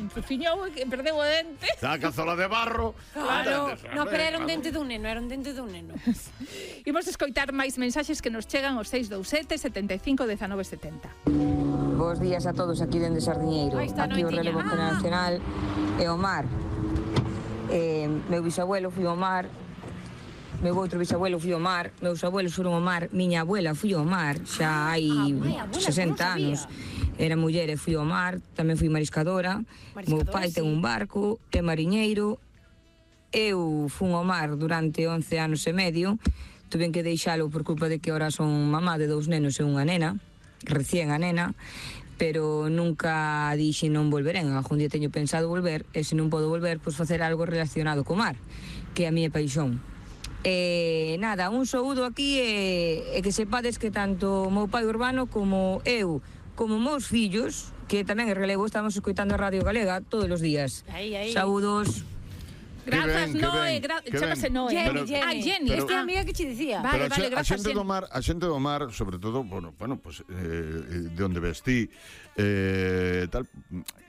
enfociñou e perdeu o dente. A cazola de barro. Claro, no, pero era un dente dun neno, Imos escoitar máis mensaxes que nos chegan aos 627 75 19 70. Bos días a todos aquí dende Sardiñeiro. Aí está, Aquí o noitiña. relevo generacional é o mar. Meu bisabuelo foi ao mar, meu outro bisabuelo foi ao mar, meus abuelos foron ao mar, miña abuela foi ao mar, xa hai abuela, 60 anos. Era muller e fui ao mar, tamén fui mariscadora. Meu pai ten un barco, é mariñeiro. Eu fun ao mar durante 11 anos e medio. Tuven que deixalo por culpa de que ahora son mamá de 2 nenos e unha nena, recién a nena, pero nunca dixe non volverén. Algún día teño pensado volver, e se non podo volver, pois facer algo relacionado co mar, que é a miña paixón. Nada, un saúdo aquí e que sepades que tanto o meu pai Urbano como eu, como meus fillos, que tamén é relevo, estamos escoitando a Radio Galega todos os días. Aí. Saúdos. Grazas, Noé, chamase Noé. Jenny, esta é a amiga que che dicía. Vale, a grazas, xente Jenny. do mar, sobre todo, bueno, pues, de onde vestí, tal,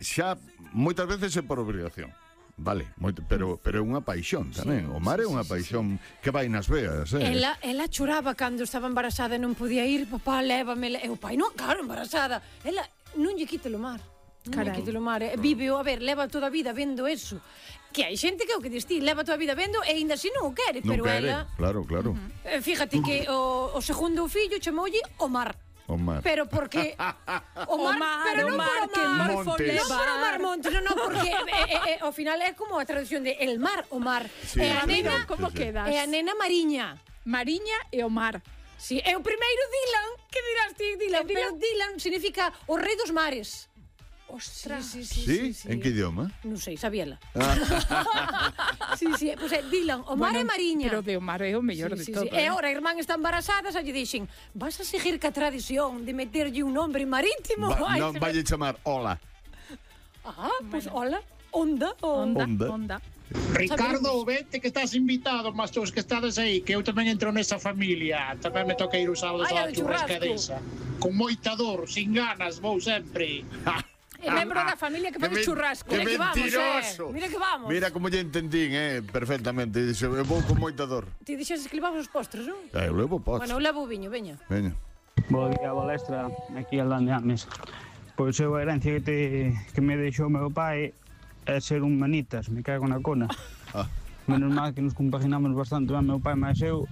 xa moitas veces é por obrigación. Vale, pero é unha paixón tamén. O mar é unha paixón que vai nas veas, Ela choraba cando estaba embarazada e non podía ir, papá, lévame. E o pai, non, claro, embarazada. Ela non lle quite o mar. Non lle quite o mar. Vive, a ver, leva toda a vida vendo eso. Que hai xente que é o que distí, leva toda a vida vendo e ainda así non o quere, pero ela... Claro. Fíjate que o segundo fillo chamoulle o mar. O mar. Pero porque o mar, pero non por o que mar, Montes. non por o mar Montes, non, porque ao final é como a traducción de el mar, o mar. Sí, E a nena, como quedas? E a nena Mariña. Mariña e o mar. Sí, é o primeiro Dylan, que dirás ti, Dylan, pero Dylan significa o rei dos mares. Ostras. Sí? En que idioma? Non sei, sabíela. Sí, pois é Dylan, o mar é Mariña. Pero de o mar é o mellor de todo. E agora a irmán está embarazada, xa lle dixen, vas a seguir ca tradición de meterlle un nombre marítimo? Non vai chamar Ola. Pois hola, Onda. Ricardo, vete que estás invitado, mas todos que estades aí, que eu tamén entro nesa familia. Tamén me toca ir os sábados á churrascadesa. Con moita dor, sin ganas, vou sempre. É membro da familia que faz churrasco. Que mentiroso. Mira que vamos. Mira como lle entendín, perfectamente. Dixe, eu vou con moita dor. Ti dixes que levamos os postres, non? Eu levo postres. Bueno, eu levo o viño, veña. Bo día, Balestra, aquí al de Ames. Pois eu a herencia que me deixou meu pai é ser un manitas, me cago na cona. Menos mal que nos compaginamos bastante ben meu pai máis eu.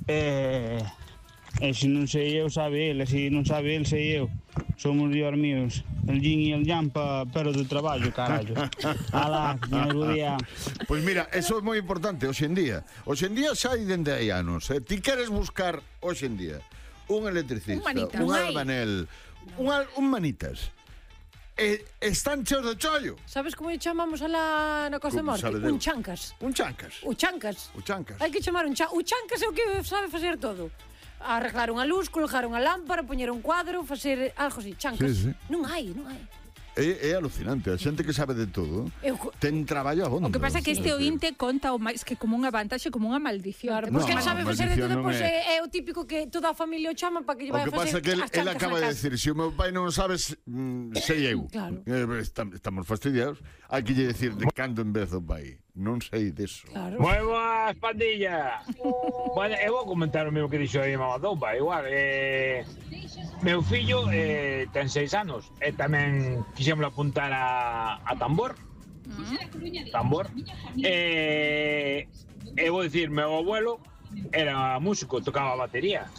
E se non sei eu, sabe ele, se non sabe ele, sei eu. Somos dios míos, el yin e el yang pero de traballo, carallo. Alá, bo día. Pois mira, eso é moi importante hoxe en día. Hoxe en día xa hai dende hai anos. Ti queres buscar hoxe en día un electricista, un albanel, un manitas. Están cheos de chollo. Sabes como lle chamamos alá na Costa da Morte? Un chancas. Un chancas. O chancas. O chancas. Hai que chamar un chancas. O chancas é o que sabe facer todo. Arreglar unha luz, colgar unha lámpara, poñer un cuadro, facer algo así, chancas. Sí. Non hai. É alucinante, a xente que sabe de todo ten traballo abondo. O que pasa é que este ointe conta o máis que como unha vantaxe, como unha maldición. Claro, porque ele sabe facer de todo, pois é o típico que toda a familia o chama para que lle vai a facer. O que pasa é que ele acaba de decir, se o meu pai non o sabes, sei eu. Claro. Estamos fastidiados. Hai que lle decir de cando en vez o pai. Non sei deso. Claro. Moi boas, pandilla. Bueno, eu vou comentar o mesmo que dixo aí Mamadoupa. Igual, meu fillo ten 6 anos e tamén quixemos apuntar a tambor. Tambor. E vou dicir, meu abuelo era músico, tocaba a batería.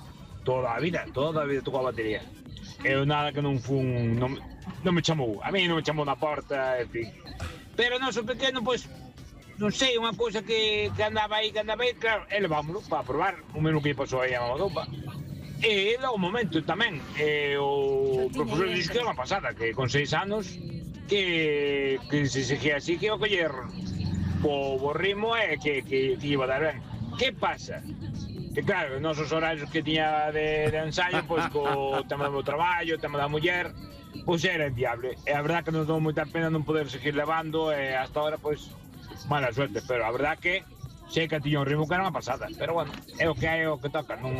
Toda a vida tocaba a batería. Eu nada que non fun... Non me chamou. A mí non me chamou na porta, en fin. Pero non, so pequeno, pois... Non sei, unha cousa que andaba aí, claro, ele vámonos para probar o mesmo que pasou aí a Mamadoupa. E logo un momento tamén, o profesor dixo que era unha pasada, que con 6 anos, que se seguía así, que iba a coller o ritmo e que iba a dar ben. Que pasa? Que claro, os nosos horarios que tiña de ensayo, pois co tema do meu traballo, o tema da muller, pois era inviable. E a verdad que nos dou moita pena non poder seguir levando, e hasta ahora, pois, mala suerte, pero a verdad que sei que tiña un ritmo que era unha pasada, pero bueno, é o que hai, é o que toca, non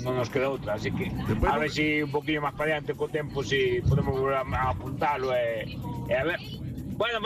nos queda outra, así que a ver se un poquinho máis para adiante co tempo, se podemos volver a apuntalo e a ver. Bueno,